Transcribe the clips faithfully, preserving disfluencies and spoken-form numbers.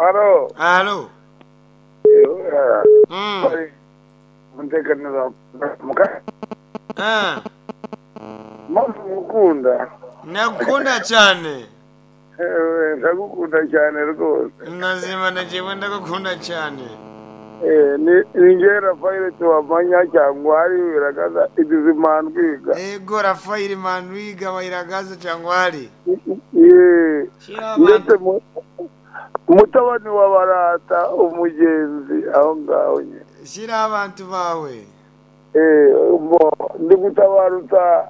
Alo. Alo. Mm. Mutekanira muka Ah, mukunda. Nakukunda cyane. Eh, ndagukunda cyane rwose. Nazima najewe ndagukunda cyane. Eh, ni ni njye Rafael Tubamanya cyangwa hari biragaza idizimandwiga. Ego Rafael Manwiga wairagaza cyangwari. Eh, Shira ndetse abantu. mu- mutabani wa Barata umugenzi aho ngaho nyine. Shira abantu bawe. Eh, bo ndi gutabarutsa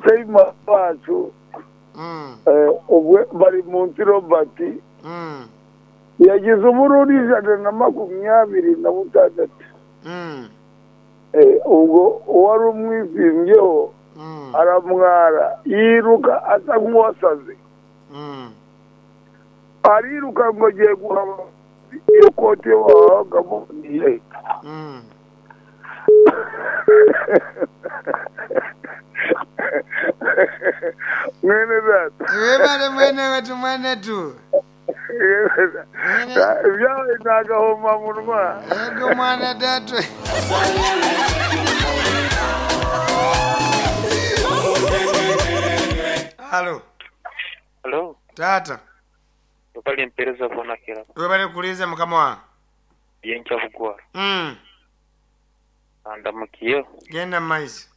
Seyima wacu Mm. eh, ubwe bari munsi Robert Mm. yagize ubururu ijana na makumyabiri na butandatu. Mm. Eh, ubwo uwari umwizimbyeho Mm. aramwara yiruka asa nk'uwasaze Mm. ariruka ngo agiye guhaba iyo koti babagamo niye Mm. mwene data Webale mwene wetu mwene tu. Mwene ibyawe ni agahomamunwa ego mwana datu. Alo. Halo, Tata. bali mpereza bonakira Webale kuliza mukama wange. byenkya bugwara Mm. andamukiyeho Genda maizi.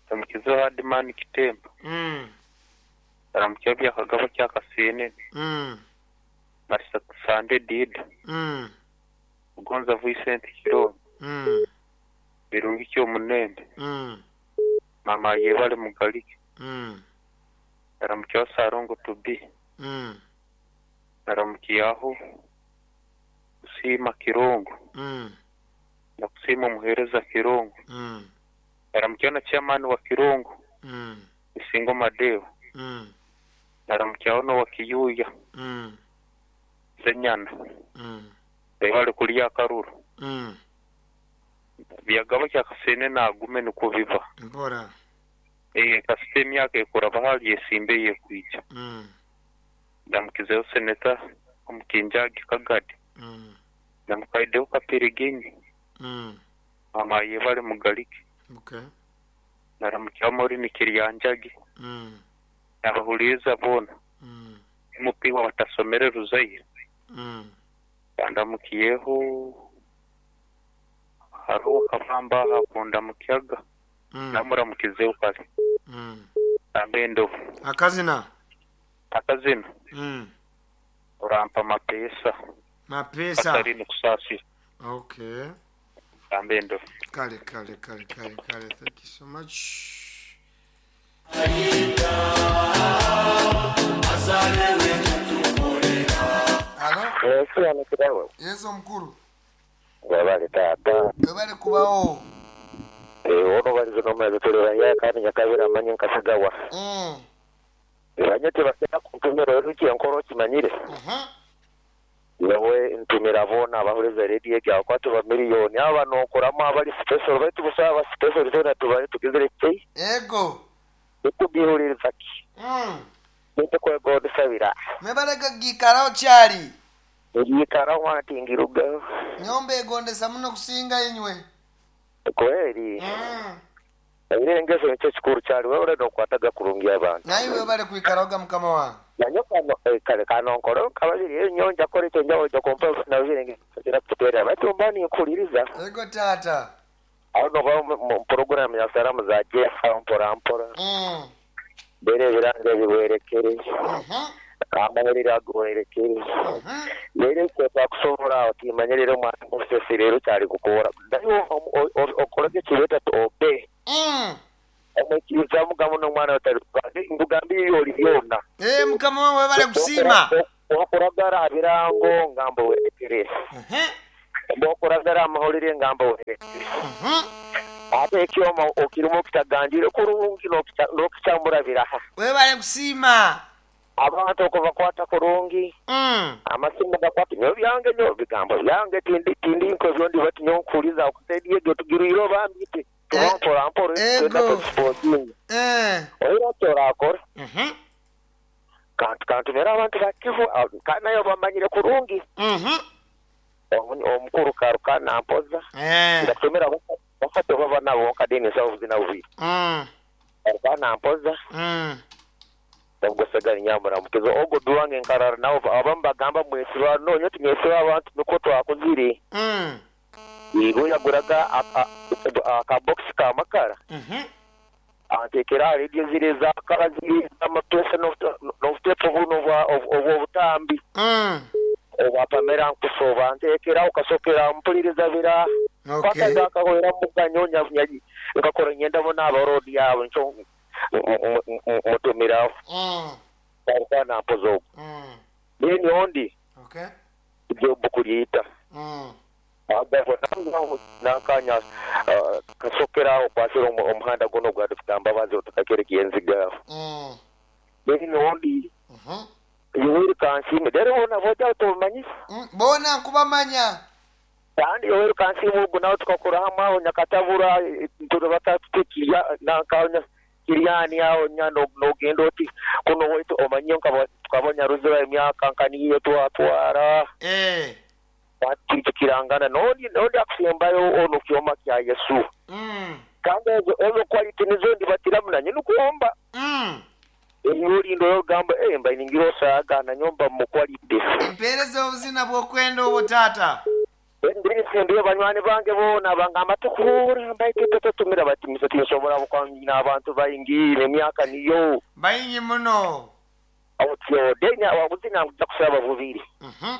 ndamukizeho hadimani kitemba Mm. ndamukiyeho byakagabo kyakasenene Mm. marisa sande dida Mm. ugonza Vincent Kirombe Mm. birungi kyomunembe Mm. mama yebale mugalike Mm. ndamukiyeho sarongo tubi Mm. ndamukiyaho kusiima Kirongo Mm. ndakusiima omuhereza Kirongo Mm. ndamukiyeho na chairman wa Kirongo Mm. Isingo Madeo Mm. ndamukiyaho n'owa Kiyuya Mm. Zenyana Mm. bali kulya akaruru Mm. byagaba kyakasene nagume niko biba Mpora. eh kasite emyaka ekuraba hali esimbe yekwija Mm. ndamukizeho seneta omukinjagi kagadi Mm. ndamukaideho kapiriginyi Mm. mama yebale mugalike Okay. naramukyaho morini kiryanjagi Mm. nabahuliriza boona Mm. mupiwa batasomere ruzaire Mm. ndamukiyeho hariho kabamba hakunda mukyaga Mm. namuramukizeho kale Mm. ambe Akazina. akazina Mm. urampa amapesa Mapesa. katari kusasira Okay. ambe ndovu Kale kale kale kale kale. Thank you so much. Alo. Sobanukiraho Yesu mukuru. wabale taata Webale kubawo. ono balizo nomwezi tuli baya kandi nyakabira manye nkasigawa Mm. banye tebagenda kuntumira ruki enkoro okimanyire Mhm. yewe ntumira boona abahuliza rediyo egyawe kwatu ba miliyoni aba nokoramu abali special baitu busa aba special zona tubale tugizire ki Ego. tukugihuliriza ki Mm. nitukwegondesabira Mwebale gikarawo kyali. eryikaraho atingiruga Nyomba egondesa muno kusinga inywe. kweri Mm. era engeso nikyo kikuru kyali wewe nokwataga kurungi abantu Naye webale kwikarawoga mukama wange. nanyo kano eh, kale kano nkoro kababiri enyo njakora ekyo njawo nja kompa nabirenge kira kuterera baitu mba ninkuliriza Ego tata. aho noba mu porogaramu ya salamu za jefa mpora mpora Mm. mbere ebirango biwerekere Mhm. amahurire aguwerekere Mhm. rero twakusobola aho timanye rero mwana musese rero kyali kukora naye okorage kibeta obe Mm. omukiriza mugamu n'omwana otali nkugambire oli byona Eh mukama wange webale kusiima. okuragara birango ngamba werekere Mhm. bwokuragara amahurire ngamba werekere Mhm. ate ekyoma okirimu okitaganjire kurungi n'okikyambura biraha Webale kusiima. abantu okubakwata kurungi Mm. amasimu gakwata nyo byange nyo bigambo byange tindi tindi nko byondi bati nyo nkuliza okusedie gyo tugiriro bambite Eh, tubampora mpora ego. twenda tusipotinga Eh. oira kyorakora Mhm. Kantu kantumira abantu bakivu kandi nayo bamanyire kurungi. Mhm. Omukuru karuka nampoza. Eh. Ndakutumira bafate baba nabo kadeni sawo zina ubi. Mm. Karuka nampoza. Mm. Ndagusaganya nyamura mukizo ogo duwange nkarara nawo abamu bagamba mwesiba nonyo timwesiba abantu niko twakuzire. Mm. Yego yaguraga aka box ka makara. Mhm. Antekera radio zire za kara ziri amapesa n'obutepo buno obw'obutambi. Mm. Obwapamera nkusoba antekera ukasokera mpuliriza bira. Okay. Paka muganyonya nkakora nyenda bona abarodi yabo ncho mutumira. Mm. Karuka nampoza. Mm. Beni ondi. Okay. Ibyo bukulita. Mm. Agavo nakanya kasokera okwasira omuhanda gono gwa dufitamba bazi otakakerekiye enziga. Mm. Beni ondi. Mhm. Yoweri Kansiime rero bona boja tumanyisa. Mm. Bona nkubamanya. Kandi Yoweri Kansiime ubwo nawe tukakora hamwe aho Nyakatabura turabata tukiya nakanya Kiriani aho nyano nogenda oti kuno wetu omanyo tukabonya ruzira emyaka nkaniyo twatwara. Eh. Tukirangana nondi nondi akusembayo ono kyoma kya Yesu. Mm. Kandi ezo ezo quality nizo ndibatira munanye nukuomba. Mm. Enyuri ndo yogamba eh mba iningiro saga na nyomba mu quality. Mpereza obuzina bw'okwenda obwo tata. Ndiri ndiyo banywani bange bona bangamba tukura mbaite tutumira bati misati nsobola bukwanyina abantu bayingire emyaka niyo. Bayingi muno. Awutyo denya wabuzina nkuja bubiri. Mhm.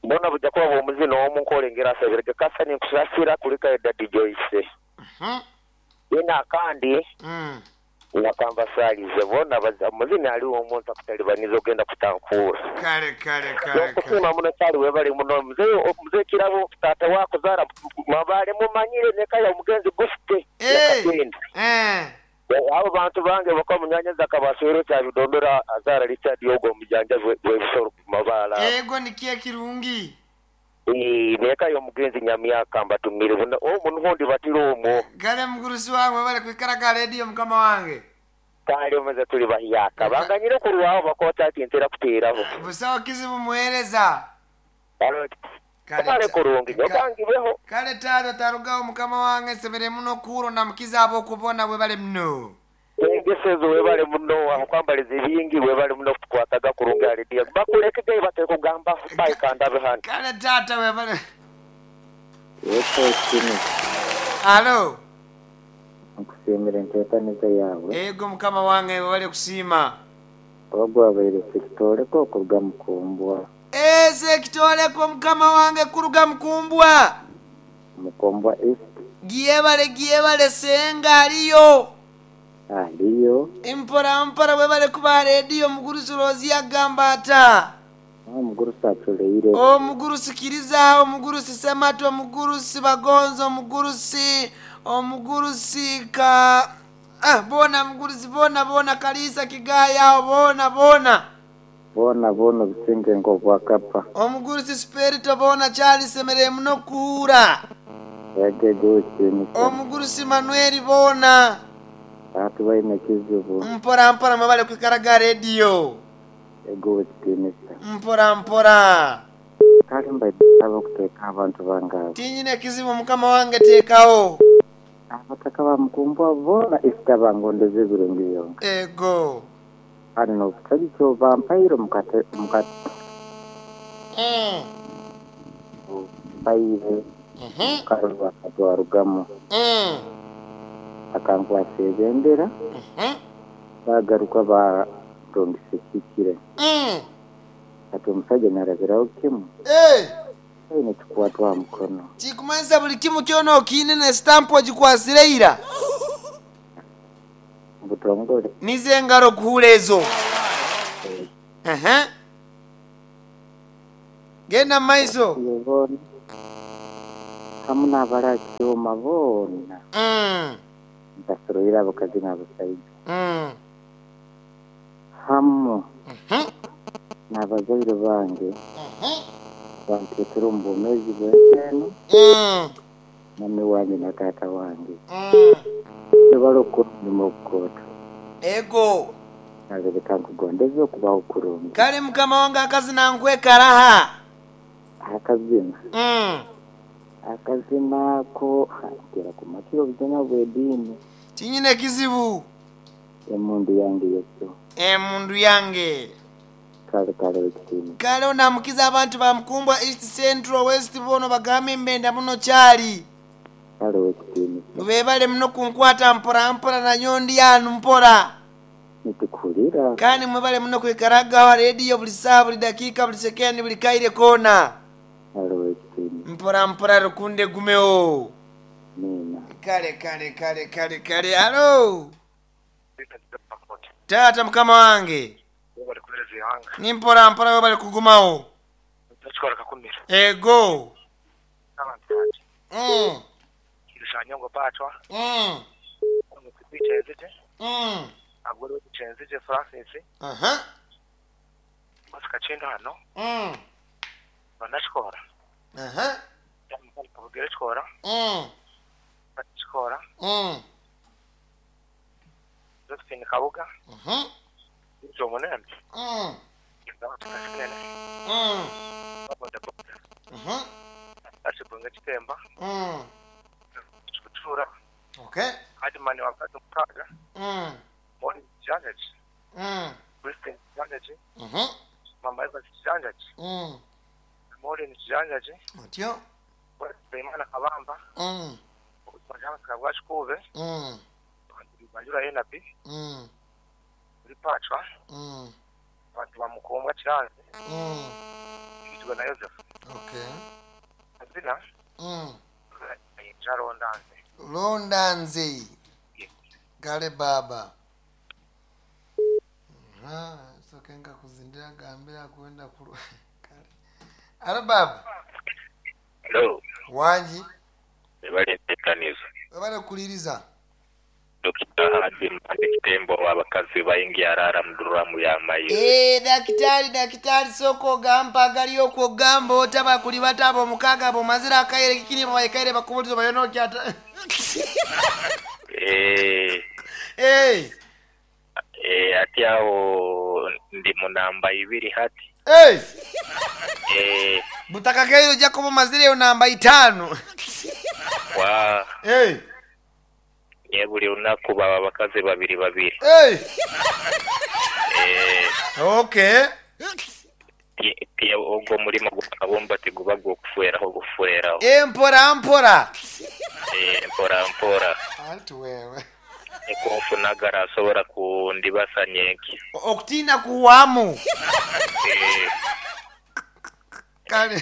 Mbona buja kuba omuzino omu nkolengera asabirege kasa ninkusasira kulika Daddy Joyce. Mhm. Yena kandi Mm. nakamba salize bona muzina aliwo omuntu akutalibaniza ogenda kutankura. Kale kale kale. Nokusima muno kyali webali muno mzee mzee kirabo tata wako zara mabale mumanyire nekaya omugenzi gufite. Eh. Eh. Abo bantu bange bakwa munyanyaza kabaswero kya bidondora azara Richard Yogo mujanja webisoro mabala. Ego nikiye kirungi. Eh neka yo mugenzi nyamyaka mbatumire buna omuntu hondi batiro omwo. Kale mugurusi wange bale kwikaraga radio mukama wange. Kale omaze tuli bahiyaka banganyire kurwaho bakota ati ntera kuteraho. Busawo kizibu muhereza. Kale kurungi yokangibeho. Kale tata tarugaho mukama wange semere muno kuro na mukiza abo kubona webale muno. Engesezo webale muno akwambaliza ebingi webale muno kukwataga kurungi alidia. Bakulekege batekugamba bayikanda behana. Kale tata webale. Yeso kini. Alo. Nkusimira enteekaniza yawe. Ego mukama wange webale kusiima. Ogwo abaire sekitoleko okuruga Mukumbwa. Eh sekitoleko mukama wange kuruga Mukumbwa. Mukumbwa East. Giebale giebale senga aliyo. Aliyo. Impora mpora webale kuba radio mugurusi Rozi agamba ata. Omugurusi atuleire. Omugurusi Kiriza, omugurusi Semato, omugurusi Bagonzo, omugurusi omugurusi ka ah bona mugurusi bona bona Kalisa Kigaya bona bona. Bona bona bisinge ngo bwakapa. Omugurusi Spirito bona Charles semere muno kuura. Yage gochi. Omugurusi Manuel bona. Atu baine kizibu. Mpora mpora mabale kwikaraga radio. Ego kitinisa. Mpora mpora. Kale mbaye okuteka abantu bangabe. Tinyine kizibu mukama wange tekawo. Abataka ba Mukumbwa bona isitabangondeze birungi byonka. Ego. Ari no kutagicho bampairo mukate mukate. Mm. Baire. Mhm. Karwa katwarugamo. Mm. Akankwasa ebendera. Mhm. Bagaruka ba rondisekikire. Mm. Ati omusajja narabirawo kimu. Eh. Aine kikwatwa mukono. Kikumanyiza buli kimu kyona okiine ne stamp ogikwasireira. Butongole. Nize engalo kuhula ezo. Ehe. Genda maiso. Yebona. Hamu n'abarakyoma boona. Mm. Ntasoroire abakazi n'abasaija. Mm. Hamu. Mhm. N'abazaire bange. Mhm. Bantetera omu bwomeezi bw'ensi eno. Mm. Mami wange na taata wange. Mm. Tebali okukola omulimu ogukooto. Ego. Kale leka nkugondeze okubaho kurungi. Kale mukama wange akazina nkwekaraha. Akazina. Mm. Akazina ko ntera kumakira obuzina bw'ediini. Tinyine kizibu. Emundu yange yesu. Emundu yange. Kale kale ekitiini. Kale onamukiza abantu bamukumbwa East Central West bono bagambe mbenda muno kyali. Kale ekitiini. Bebale muno kunkwata mpora mpora na nyondi yanu mpora. Nitukuhurira. Kandi mwebale muno kwikaragaho rediyo buli saaha buli dakiika buli sekendi buli kaire koona. Kale ekitiini. Mpora mpora rukunde gumewo. Nina. Kale kale kale kale kale alo. Taata mukama wange. Bali kubereza ihanga. Ni mpora mpora webale kugumawo. Ndachikora kakumira. Ego. Abantu banje. Mm. Kirushanyo patwa. Mm. Kwicenzije. Mm. Agore kwicenzije Francis. Aha. Masika chendo hano. Mm. Banachikora. Aha. Kabugere chikora. Mm. Chikora. Mm. Josephine Kabuga. Mhm. Ijo munembe. Mm. Ndabatukashikene. Mm. Boda boda. Mhm. Achibunga chitemba. Mm. Chikutura. Okay. Adimani wakati mukaga. Mm. Mori Janjaji. Mm. Christine Janjaji. Mhm. Mama Eva Janjaji. Mm. Maureen Janjaji. Otyo. Imana Kabamba. Mm. Majama Kabwachikube. Mm. Banjura Enabi. Mm. Uri Pachwa. Mm. Abantu bamukumbwa Kiranze. Mm. Yitwa na Joseph. Okay. Azina. Mm. Jarondanze. Londanze. Kale baba. Ah, so kenga kuzindira gambira kwenda kulu. Kale. Alo baba. Hello. Wanji. Bali tekanizo. Webale kuliriza. Dokita Hadi Mpande Kitembo abakazi bayingi arara muduramu ya mayi. Eh, dakitari dakitari soko gamba galiyo ko gamba otaba kuli batabo mukaga bo mazira akaire kikini baikaire bakubulizo bayono kyata. Eh, Eh, eh ati awo ndi munamba ibiri hati. eh. Eh, Butaka keyo Jacob mazire namba itano. wa Eh, nye buli lunaku baba abakazi babiri babiri. eh. Eh, Okay. ti- ti ogwo mulimo gwakabumba tiguba gwokufueraho gufueraho. Eh, mpora mpora. Eh, mpora mpora. Anti wewe. Ekonfunagara asobola kundibasa nyenki. Okutina kuwamu. Eh, Kale.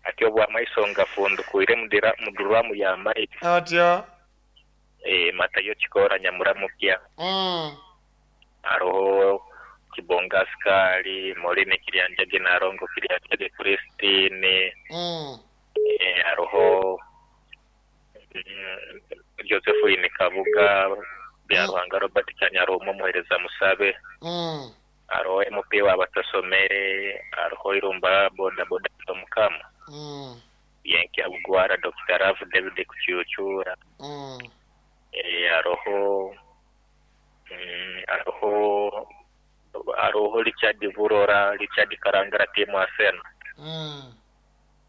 ati obwamaiso ngafundukwire mudira muduramu ya mayi. Otyo. Eh, matayo kikora nyamuramukya. Mm. Aroho Kibonga Askari, Moline Kiryanjage Narongo Kiryanjage Christine, Mm. eh, aroho mm, Josephine Kabuga, Byaruhanga Robert Kanyarumo Muhereza Musabe, Mm. aroho M P w'abatasomere, aroho Irumba Boda Boda Mukama, Mm. Yenki Abugwara Doctor Rav David Kucyucyura, Mm. eh, aroho mm, aroho aroho Richard Burora, Richard Karangara timu Arsenal, Mm.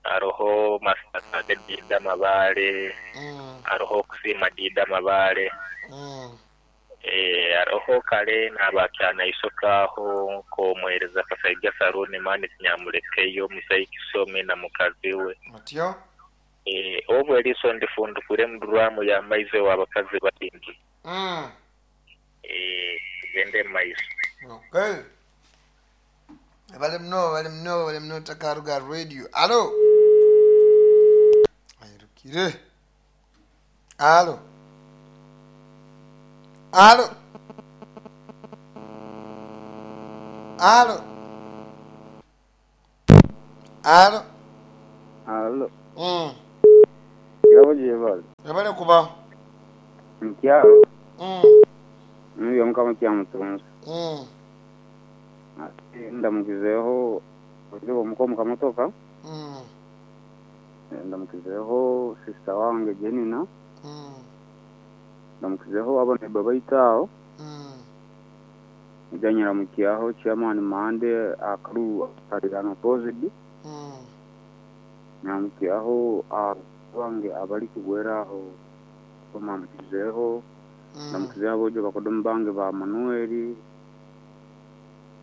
aroho Masaka Dida Mabale, Mm. aroho Kusima Dida Mabale, Mm. eh, aroho kale n'abakyana isokaho komuhereza Kasaiga Saruni mani kinyamulekeyo Musayi Kisome na mukazi we. Otyo. Eh, obwo eriso ndifundukure muduramu ya maize w'abakazi babiri. Mm. Eh, tugende mu maiso. Okay. Bali mno, bali mno, bali mno Takaruga Radio. Alo. Ayirukire. Alo. Alo. Alo. Alo. Alo. Mm. Yabo jebal. Webale kuba. Nkyalo. Mm. Nyo mukama kyamutunzi. Mm. Ate ndamukizeho oyo omukomu kamotoka. Mm. Ndamukizeho sister wange Jenina. Mm. Ndamukizeho abana baba itaawo. Mm. Ujanyiramukiaho chairman Mande akaru kalirano pozidi. Mm. Nyiramukiaho abange abali kugweraho bamamukizeho. Mm. Namukizeho abojo bakodomu bange ba Manueli.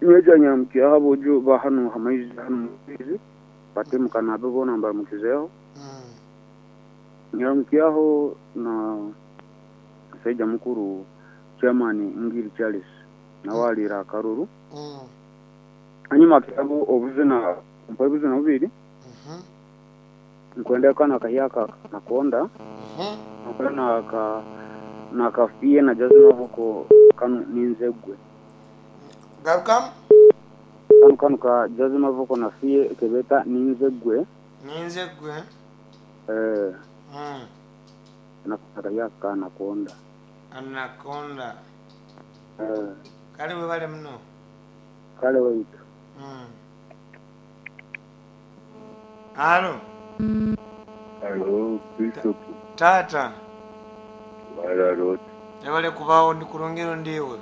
Nyeja nyiramukiaho abojo ba hano hamaizi hano mukizi. Batemukana abe bona mbaramukizeho. Mm. Nyiramukiaho na Saija mukuru chairman Ngiri Charles nawalira akaruru. Mm. Hanyuma akabo obuzina mpa obuzina bubiri. Mhm. Nkwenda kana kahyaka nakonda. Mhm. Nkwenda ka nakafiye na jazima huko kanu ninzegwe. Garukamu? Kanu kanu ka jazima vuko nafiye kebeta ninzegwe. Ninzegwe. Eh Mm. nakahyaka nakonda. Anakonda. Eh Kale webale muno. kale waitu. Mm. Alo, Alo, Bishop tata. Bararot, Ebale kubawo ndi kulungiro ndiwe.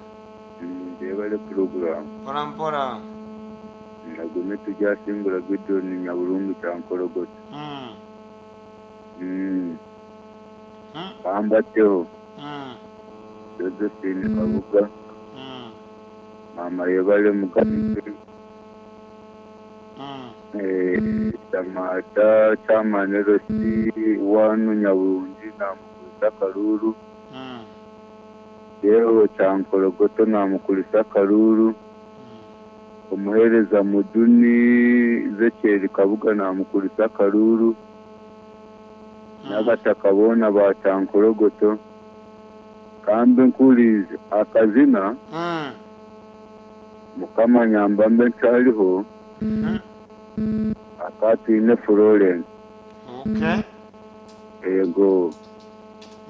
ndebale program. Mpola mpola. Nagume tujasimbura Gideon Nyaburungu kyankorogoto. Mm. Mm. Mm. Bambateho, Mm. Josephine Kabuga, Mm. Mama Yebale Mugabe, Mm. eh, Tamata Chairman L C wanu Nyaburungi namukulisa Karuru, Mm. Yeho kyankorogoto namukulisa Karuru, omuhereza Muduni Zekyeri Kabuga namukulisa Karuru, n'abataka boona ba kyankorogoto. Kambe nkulize akazina Mm. Mukama nyamba mbe nkyaliho Mm. akatwine Florence. Okay. Ego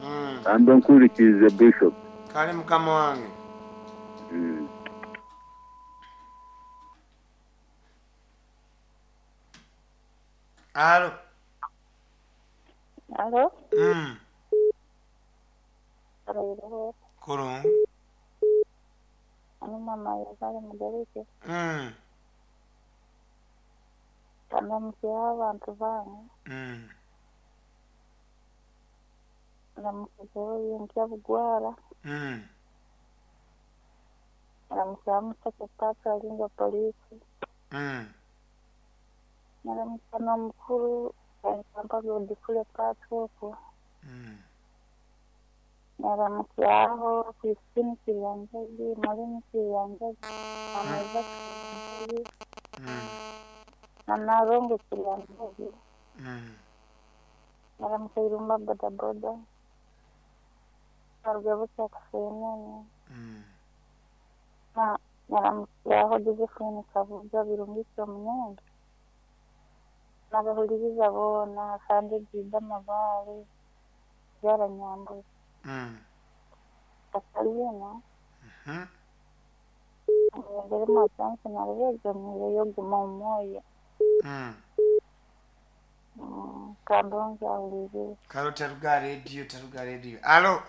Mm. kambe nkurikize Bishop. Kale mukama wange. Mm. Alo. Alo, Mm. Alo, Kurungu. ani mama yabale mugereke Mm. ndamukiha abantu bange Mm. ndamukizeho yinkya bugwara Mm. ndamukiha museke paka alinga polisi Mm. ndamukiha n'omukuru akampa Godfrey Patrick Mm. ndamukihaho Christine Kiryanjagi Maureen Kiryanjagi Mama Kiryanjagi Mm. na Narongo Kiryanjagi Mm. ndamukiha Irumba bodaboda Karugabo Kyakafenene Mm. na naramukihaho Josephine Kabuga Birungike Omunyange n'abahuririza boona kandi Jida Mabare Byaranyambuye Mm. Katalina Mhm. mbere masansi narabegamiye yo guma omwoyo Mm. Mm, kandongi ahuririze Kalo taruga radio taruga radio. Alo.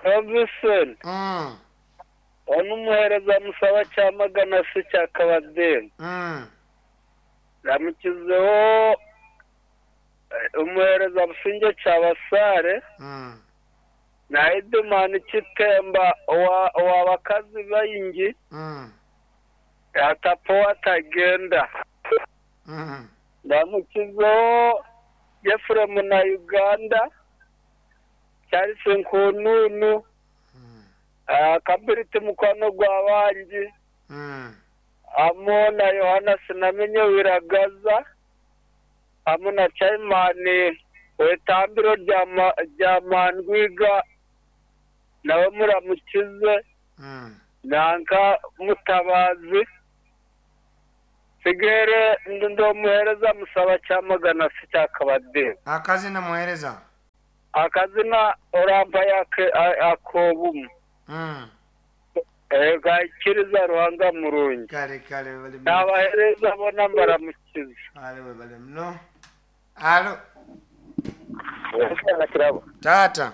Robinson Mm. ono umuhereza musaba cyamagana se cya Kabadeni Mm. ramukizeho eh, umuhereza Businge cya Basare Mm. na Edumani Kitemba wa wa bakazi bayingi Mm. atapo atagenda Mm. ndamukizeho Jeffrey na Uganda Charles Nkununu Mm. ah, Kabiriti mukwano gwa bangi Mm. amo na Yohana sinamenye wiragaza amo na Chaimani wetambiro rya ma- rya Mandwiga nawe muramukize Mm. nanka mutabazi sigere ndomuhereza musaba cyamagana se cya Kabadeni Akazina muhereza. akazina orampa yake akobumu Mm. gakiriza Ruhanga murungi Kale kale webale muno. nabahereza bona mbaramukize Kale webale muno. Alo. Kirabo Tata.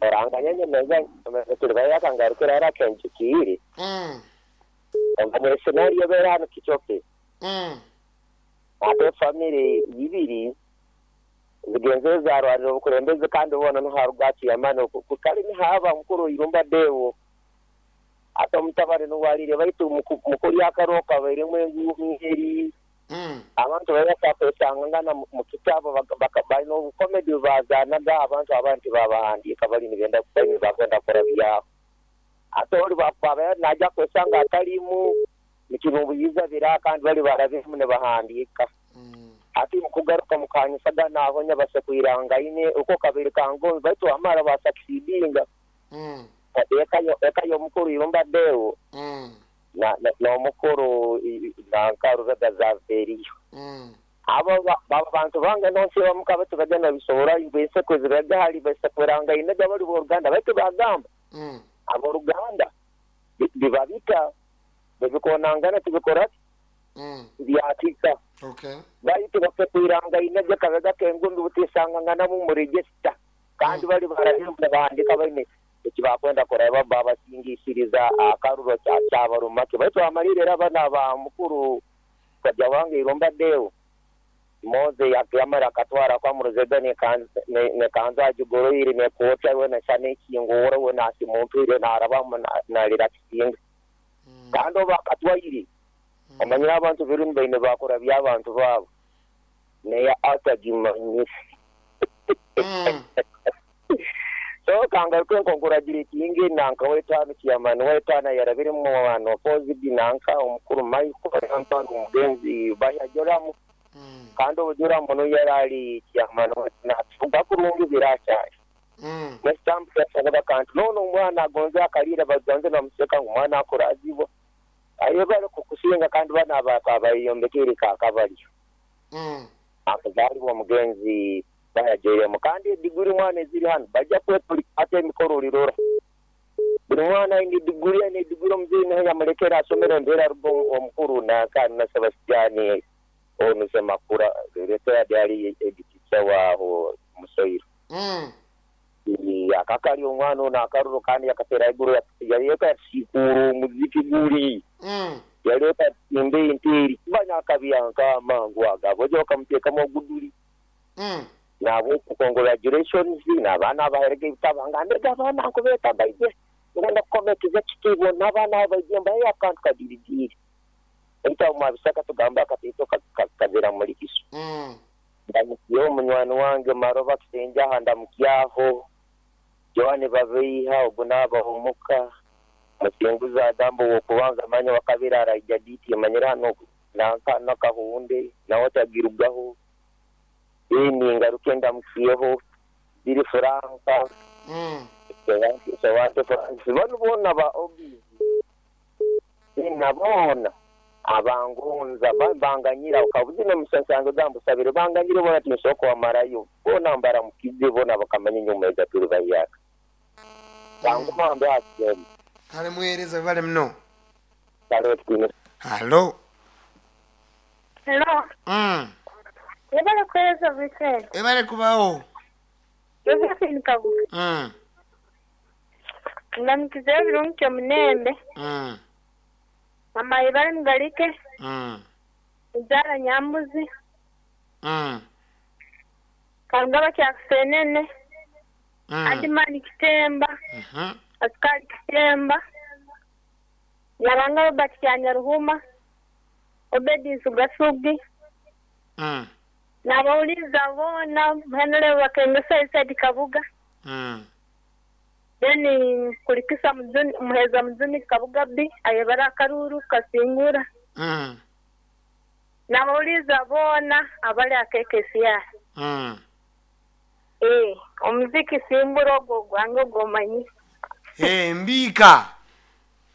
Oranganya meza turi bayakangarukira arakenjikiri. Mm. Omanye scenario bera hano kichoke. Mm. Ate family ibiri zigenze zarwarira obukulembeze kandi bona no harugachi yamano kukali ni haba mukuru irumba dewo. Ate omutabare nuwalire baitu mukuri akaroka bairemu enguheri. Mm. Abantu bayakwesangana mu kitabo balina obukomedi bazaanaga abantu abandi babahandiika bali nibenda kubaini bakwenda kukora byabo. Ate oli baba najja kwesanga atalimu nikimubuyiza bira kandi bali barabimu ne bahandiika. Mm. Ati mukugaruka mukanyisaga nabonya basekwirangaine uko kabiri kango baitu amara basakisidinga. Mm. Eka eka y'omukuru irumba dewo. Mm. Na n'omukuru nankaruzaga zaveriyo. Mm. Abo baba bantu bange nonsi bamuka tubagenda bisohora ibese kweziraga hali basekwirangaine gabali b'oruganda baitu bagamba. Mm. Aboruganda bibabika bikonangana tubikora Mm. byatika. Okay. Baitu basekwirangaine kabega kengundu butisangangana mu register kandi bali barahimba bandika baine ekibakwenda kureba baba singisiriza akaruro cya cyabarumake baitu amalire abana ba mukuru kajya wange iromba deo Moze yakiyamara akatwara kwa muruzega ne kanza ne kanza jugoroire ne kocha we na shane kingora we na simumpire na araba na lirakisinga. Kandi bakatwaire amanyira abantu birun baine bakora byabantu babo ne ya atagimanye. Mm. So kangaruke nkonguragire nanka wetano kiyamani wetana yarabiri mu bantu positive nanka omukuru Michael Antoine omugenzi bayajoramu. Mm. Kandi obujura muno yarali kiyamani na tugakurungi biracyaye. Mm. Nestamp yasabaga kantu none omwana agonze akalira bagonze bamuseka ngo omwana akurazibo ayo bari kukusinga kandi bana abayombekere kakabali. Mm. Akazali wa mugenzi bayajeremo kandi diguri mwana eziri hano bajja kwetuli ate emikoro lirora buli mwana indi diguri ene diguri omuzeeyi naye yamulekera asomero embeera rugo omukuru nanka na Sebastian ono Semakura retired yali editica waaho Musoiro. Mm. Akakali omwana ono akaruro kandi yakatera iguru yaleka yasikuru omuziki guli. Mm. Yaleka imbe interi kubanya akabyanka amangu agabo oja okamuteekamu oguduli. Mm. Nabo congratulations n'abaana abaherege ebitabo mbega abaana nkubeeta baije ngenda kukomekeza kitiibwa n'abaana abaije mbaye akantu kadirigiri ebitabo mwabisaka tugamba akatiito kazira muri kisu. Mm. Ndamukiyeho munywani wange Maroba Kisenjaha ndamukyaho Joane Babeiha ogu n'abahomuka Musinguza Adambo wokubanza manya wakabiri araija diti manyira hano nanka nakahunde nawe tagirugaho ini ngaruke ndamukiyeho biri Franka. Mm. Sewante Francis bano bona ba obizi nabona abangonza banganyira ukabuzi no musansango gambo sabire banganyire bona tinsoko wamarayo bona mbara mukize bona bakamanya nyuma egaturu bayaka banguma mbe asem kale muhereza bale mno kale twine. Hello. Hello. Mm. Ebale kweza Vicente. Ebale kubaho. Josephine Kabuga. Mm. Ndamukize birungi munembe. Mm. Mama ibale ngalike. Mm. Nzara nyambuzi. Mm. Kangaba kya kusenene. Mm. Adimani Kitemba. Mhm. Askari Kitemba. Nyaranga Robert Kyanyaruhuma. Obedi Sugasugi. Mm. Nabawuliza bona mhenele wakengesa Isadi Kabuga. Mm. Then kulikisa mzuni muheza mzuni Kabuga bi ayebara karuru kasingura. Mm. Nabawuliza bona abali akekesiya. Mm. Eh, omuziki simburo gwango gomanyi. Eh, mbika.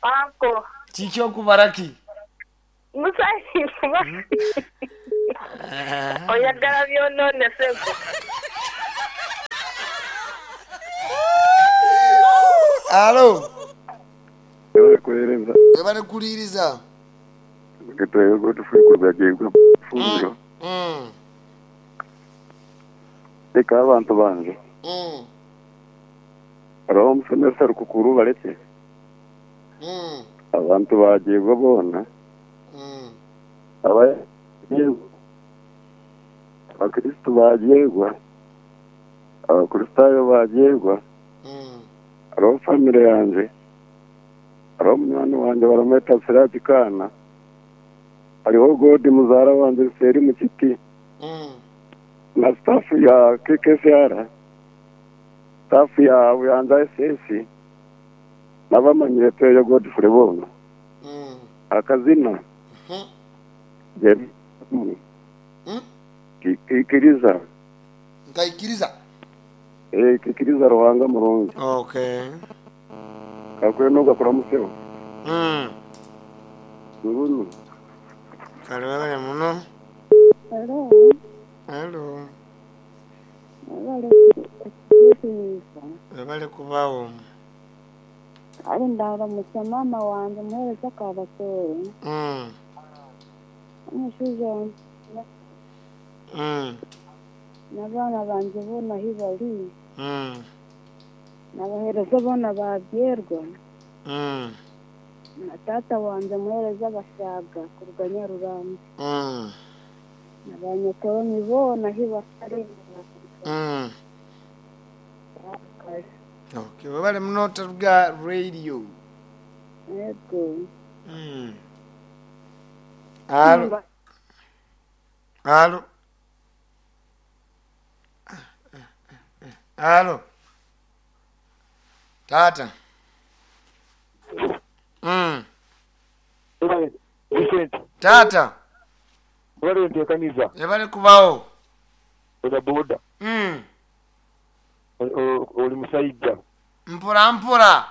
Ako. Kikyo kubaraki. Musayi. Mm. Oyagala byonone sebo. Alo. Kuhereza. Ebale kuliriza. Kitwego tufukurwa jegwa fundo. Mm. Eka abantu bange. Mm. Hariho omusomesa Rukukuru baleke. Mm. Abantu bagyebwa boona. Mm. Aba Abakristo bagyebwa. Abakristayo bagyebwa. Mm. Hariho famire yanje. Hariho munywani wanje baramweta Siraji Kana. Hariho Godi muzaara wanje Seri Mukiti. Mm. Na staff ya K K S R. Staff ya Buyanza S S. N'abamanyire Tweyo Godfrey boona. Mm. Akazina. Mhm. Jerry. Mm. Kikiriza. Nkaikiriza. Eh, kikiriza Ruhanga murungi. Okay. Kakwe nogakora museo. Mm. Ngunu. Kale webale muno. Hello. Hello. Webale kutuusa. Webale kubawo. Ali ndaramutsa mama wanje muhereza Kabatore. Mm. Omushaija wanje Mm. n'abaana banje boona ahi bari. Mm. N'abahereza boona babyerwa. Mm. Na taata wanje muhereza Bashaga kuruga Nyaruranga. Mm. Na banyakoromi boona ahi bari. Mm. Okay, webale muno Taruga Radio. Yego. Mm. Alo. Alo. Alo. Tata. Mm. Tata. Wale nteekaniza. Webale kubawo. Boda boda. Mm. Oli musajja. Mpora mpora.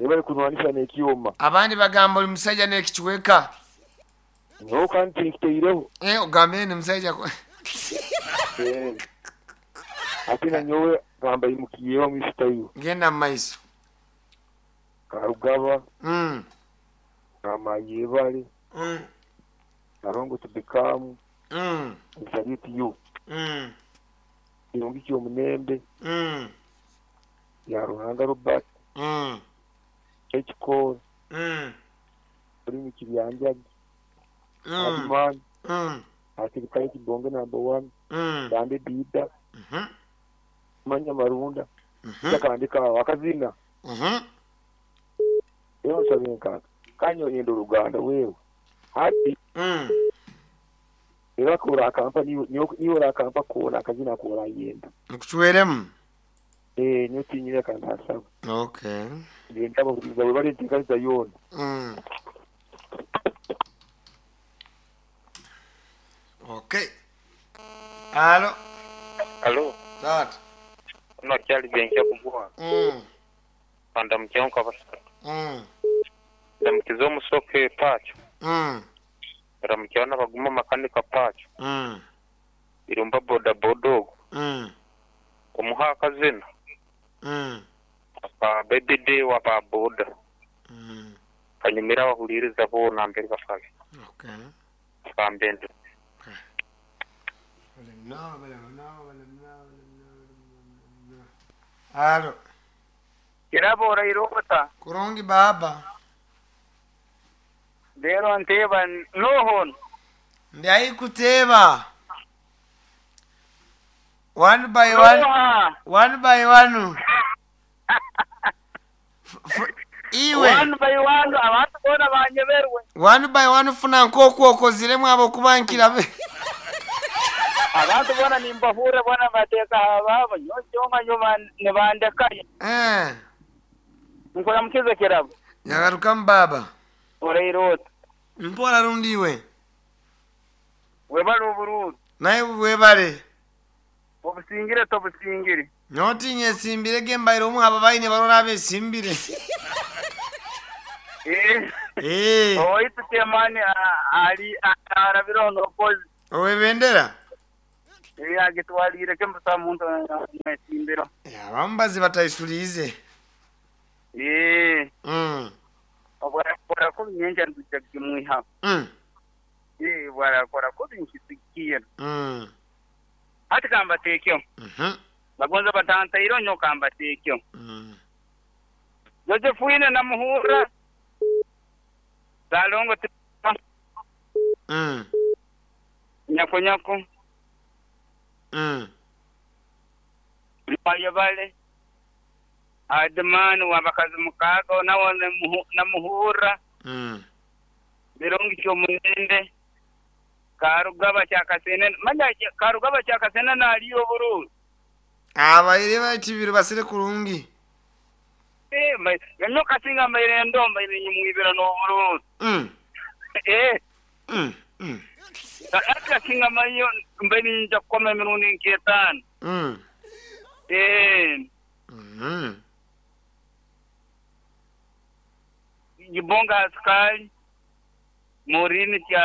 Webale kunwanisa n'ekyoma. Abandi bagamba oli musajja n'ekikiweka. No kandi nkiteireho. Eh, ogambe ni musajja. Eh. Ate na nyowe gamba imukiyeho mu isitayo. Genda mu maiso. Karugaba. Mm. Kama yebale. Mm. Karongo tubikamu. Mm. Salute you. Mm. Kirungi ky'omunembe. Mm. Ya Ruhanga Robert. Mm. Ekikoro. Mm. Oli kibyanjaji. Mm. Abimani. Mm. Asirikale kibonge number one. Mm. Bande Dida. Mhm. Manya Marunda. Mhm. Takandika akazina. Mhm. Eyo nsabe nkaka. Kanyo yendo Luganda wewe. Hati. Mm. Era kora akampa niyo niyo akampa kora akazina kora yenda. Nkuchweremu. Eh niyo tinyira kandi asaba. Okay. Ngenda bakubiza we bali ntekanisa yona. Mm. Okay. Alo. Alo. Tata. Ono kyali byenkya kugwa. Mm. Panda mukyanka basatu. Mm. Ndamukiza omusoke pacho. Mm. Ndamukyana baguma makanika pacho. Mm. Irumba boda bodogo. Mm. Omuha akazina. Mm. Aba baby day wa ba boda. Mm. Kanyumira bahuliriza bona mbere bakabi. Okay. Kambende. Alo. Kirabo irota. Kurungi baba. Lero nteba nohon. Ndi kuteba. One by one. Noha. One by one. F iwe. One by one abantu bona banyeberwe. One by one funa nkoko okoziremu abo kubankira. Abantu bona nimbahure bona bateka ababo nyoma nyoma nibandekaye. Eh. Nkora mukize kirabo. Nyagaruka mbaba. Oreirota. Mpora rundiwe. Webale obururu. Naye webale. Obusingire tobusingire. Notinye simbire gembaire omu aba baine barora abesimbire. Eh. Eh. Oitu temani ali arabiro nokozi. Owebendera. Eh agitwalire kembusa muntu nesimbiro. Ya bambazi batayisulize. Eh. Mm. Obwakora ko nyenja nduja kimwiha. Mm. Eh bwarakora ko binkisikiye. Mm. Ati kamba tekyo. Mhm. Bagonza batantairo nyoka mbateekyo. Mm. Josephine namuhura. Salongo ti- Mm. nyako nyako. Mm. Mayabale. Adman wabakazi mukaaga nawo namuhu- namuhura. Mm. Birungi kyomunende. Karugaba kyakasene. Manya karugaba kyakasene naliyo burungi. Abaire bakibiri basire kurungi. Eh, mai- nyoka singa maire ndomba iri nyimwibira n'oburungi. Mm. Eh. Mm. Mm. Aka singa mayo mbeni nja kukoma emirundi nk'etaano. Mm. Eh, Mm. Gibonga askari Morini kya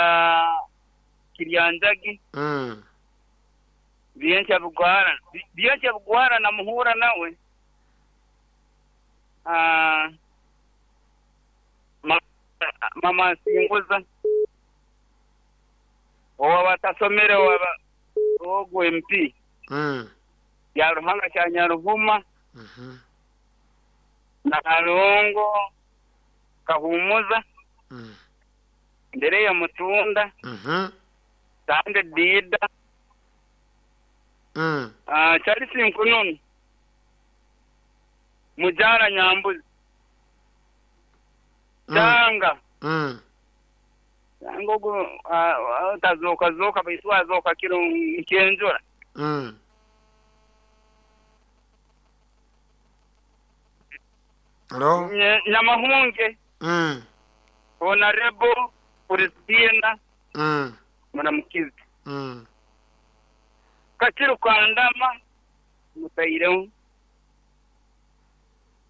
Kiryanjagi Mm. byenkya bugwara byenkya bugwara namuhura nawe Ah, ma- mama nsinguza owa batasomere waba ogwo M P Mm. ya Ruhanga kya Nyaruhuma Mhm. na Kalongo Kahumuza Mm. mbere ya Mutunda Mhm. Sande Dida Mm. Ah, Charles Nkununu Mujara Nyambuzi Mm. Tanga Mm. Tanga ogu ah, ah, tazoka zoka baitu azoka kiro nkenjura Mm. Hello? Nye- Nyamahunge Mm. Honorable Christina Mm. Muramukizi Mm. Kakiru Kandama Mutaireho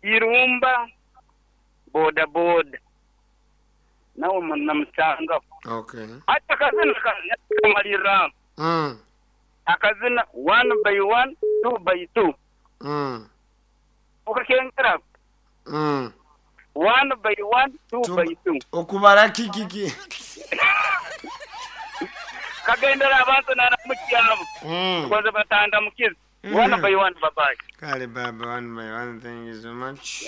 Irumba boda boda nawe namusangaho Okay. hati akazina kamalira Mm. akazina one by one two by two Mm. ukakengera Mm. one by one two Two by two Okubara kikiki. kagendera abantu naramukyabo Mm. kwanza batanda mukizi Mm. one by one babaye Kale baba one by one thank you so much.